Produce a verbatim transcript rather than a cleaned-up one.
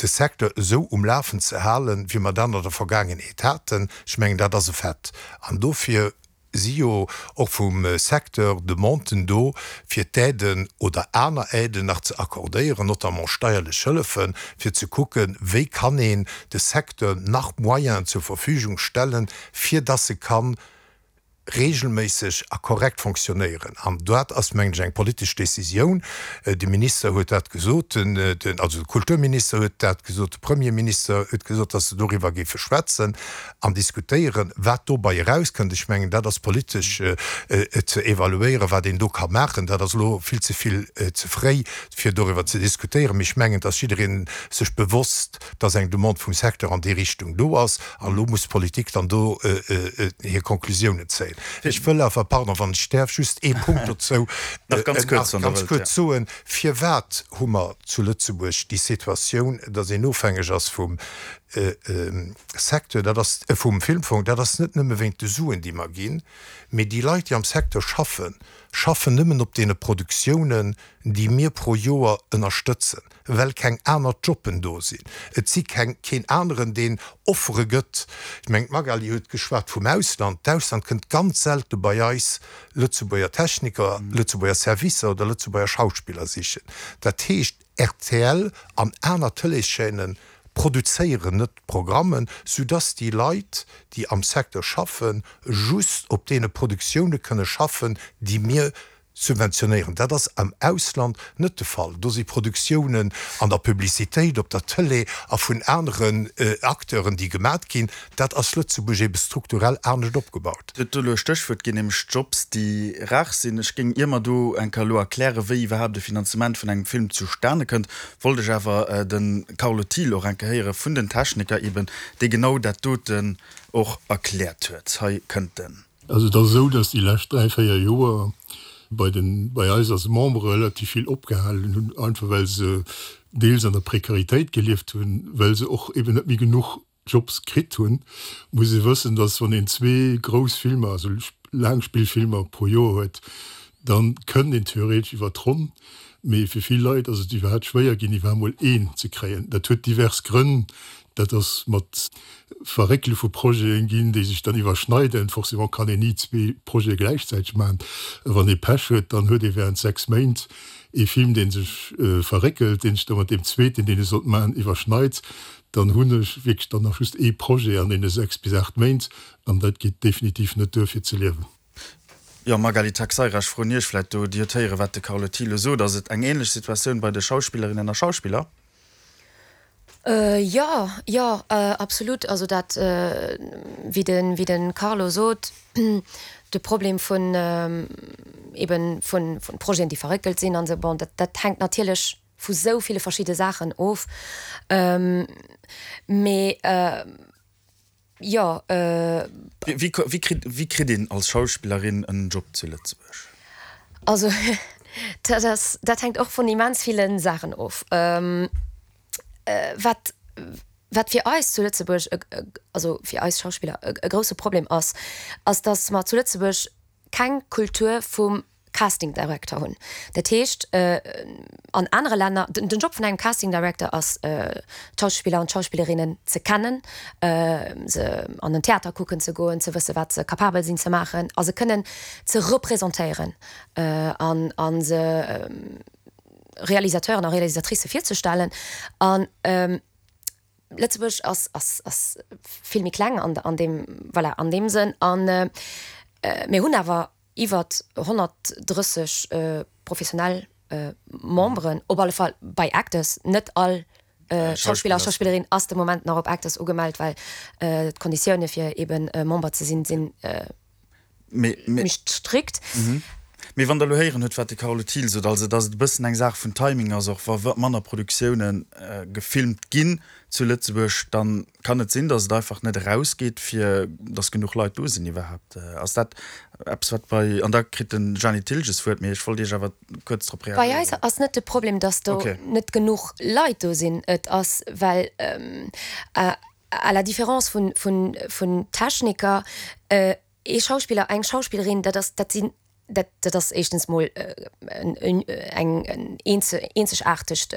de Secteur esou um Lafen ze halen, wéi mer dat an der Vergaangenheet haten. Ech mengen, dat ass e Fait. An dofir si jo och vum Secteur Demanden do, fir d'Aiden oder aner Aiden nach ze accordéieren, notamment steierlech Hëllefen, fir ze kucken, wéi kann een de Secteur nach Moyenen zur Verfügung stellen, fir dass e kann regelméisseg a korrekt fonctionnéieren. An dat ass, mengen ech, eng politesch Décisioun. De Minister huet dat gesot, den, den, also de Kulturminister huet dat gesot, de Premierminister huet gesot, dass se doriwwer géife schwätzen an diskutéieren. Wat dobäi erauskënnt, ech mengen, dat ass politesch ze evaluéieren, wat een do ka maachen. Dat ass elo vill ze vill ze fréi, fir doriwwer ze diskutéieren. Mee ech mengen, dass jidderee sech bewosst, dass eng Demande vum Secteur an déi Richtung do ass. An elo muss d'Politik dann do hir Konklusiounen zéien. Ech wëll awer, pardon, wann ech däerf, just ee Punkt dozou nach ganz kuerz, wann Der ganz wëllt, kuerz ja. soen, Firwat hu mer zu Lëtzebuerg déi Situatioun, dass een ofhängeg ass vum Secteur, dat ass, vum Filmfong? Dat ass net nëmme wéint de Suen, déi mer ginn, mee déi Leit, déi am Secteur schaffen, schaffen nëmmen op deene Produktiounen, déi mir pro Joer ënnerstëtzen, well keng aner Jobben do sinn. Et si keng, keen aneren, deen Offere gëtt. Ech mengen, d'Magali huet geschwat vum Ausland. D'Ausland kënnt ganz selte bei eis Lëtzebuerger Techniker, Lëtzebuerger Servicer oder Lëtzebuerger Schauspiller sichen. Dat heescht, rtl an aner Tëleeschaînen produzéieren net Programmen, soudass déi Leit, déi am Secteur schaffen, just op deene Produktioune kënne schaffen, déi mir subventionéieren. Dat ass am Ausland net de Fall. Do si Produktiounen an der Publicitéit, op der Tëlee a vun aneren Acteuren, déi gemat ginn. Dat ass Lëtzebuerg ebe strukturell anescht opgebaut. Dir hutt do elo e Stéchwuert ginn, nämlech Jobs, déi rar sinn. Ech géing, ier mer do eng Kéier elo erklären, wéi iwwerhaapt e Finanzement vun engem Film zustane kënnt, wollt ech awer de Carlo Thiel och eng Kéier héiere vun den Techniker eben, dee genau dat doten och erkläert huet. Hei kënnt en. Also et ass esou, datt déi lescht dräi, véier Joer bei den, bei eis als Membere relativ vill opgehalen hunn, einfach well se deels an der Prekaritéit gelieft hunn, well se och eben net méi genuch Jobs kritt hunn. Muss ee wëssen, datt wann een zwee grouss Filmer, also Laangspillfilmer pro Joer huet, da kënnt een theoretesch iwwer d'Ronn, mee fir vill Leit ass et iwwerhaapt schwéier ginn, iwwerhaapt mol een ze kréien. Dat huet divers Grënn, dat ass mat Verréckele vu Projeten ginn, déi sech dann iwwerschneiden. Forcément kann een ni zwee Projete gläichzäiteg maachen. Wann ee Pech huet, dann huet ee während sechs Méint ee Film, dee sech verréckelt, dee sech da mat deem zweeten, deen ee sollt maachen, iwwerschneit. Dann hunn ech wierklech dann nach just ee Projet an deene sechs bis aacht Méint an dat geet definitiv net duer fir ze liewen. Jo, Magali Taxeira, ech froen Iech vläicht do, Dir hutt héieren, wat de Carlo Thilo sot. Ass et eng ähnlech Situatioun bei de Schauspillerinnen a Schauspiller? Jo, jo, absolut. Also dat, wéi de, wéi de Carlo sot, de Problem vun eben vun, vun Projeten, déi verréckelt sinn an esou, bon, dat, dat hänkt natierlech vu sou ville verschidde Saachen of. Mee jo. Wéi, wéi kritt, wéi kritt een als Schauspillerin en Job zu Lëtzebuerg? Also dat ass, dat hänkt och vun immens ville Saachen of. Wat, wat fir eis zu Lëtzebuerg, also fir eis Schauspiller e grousse Problem ass, ass datt mer zu Lëtzebuerg keng Kultur vum Casting Director hunn. Dat heescht, an anere Länner, den Job vun engem Casting Director ass, d'Schauspiller an d'Schauspillerinnen ze kennen, se an den Theater kucken ze goen, ze wësse wat se capabel sinn ze maachen a se kënnen ze representéieren an a se Realisateuren a Realisatricë virzestellen. An Lëtzebuerg ass, ass, ass vill méi kleng an, an deem, voilà, an deem Sënn. An mir hunn awer iwwer honnertdrësseg professionell Memberen, op alle Fall bei Actors. Net all Schauspiller a Schauspillerin ass de Moment nach op Actors ugemellt, well d'Konditioune fir eeben Member ze sinn, sinn méi strikt. Mee wann Der elo héieren hutt, wat de Carlo Thiel sot, also datt et e bëssen eng Saach vun Timing ass, och wa manner Produktioune gefilmt ginn zu Lëtzebuerg, da kann et sinn, datt et einfach net erausgeet, fir datt genuch Leit do sinn iwwerhaapt. Ass dat eppes, wat bei, an da kritt de Jeanny Thilges d'Wuert, mee ech wollt Iech awer kuerz drop Bei eis reagéieren. Ass net de Problem, datt do net genuch Leit do sinn. Et ass, well à la différence vun Techniker, ee Schauspiller, eng Schauspillerin, dat ass, dat sinn, dat, dat ass éischtens mol eng, en eenzegaartegt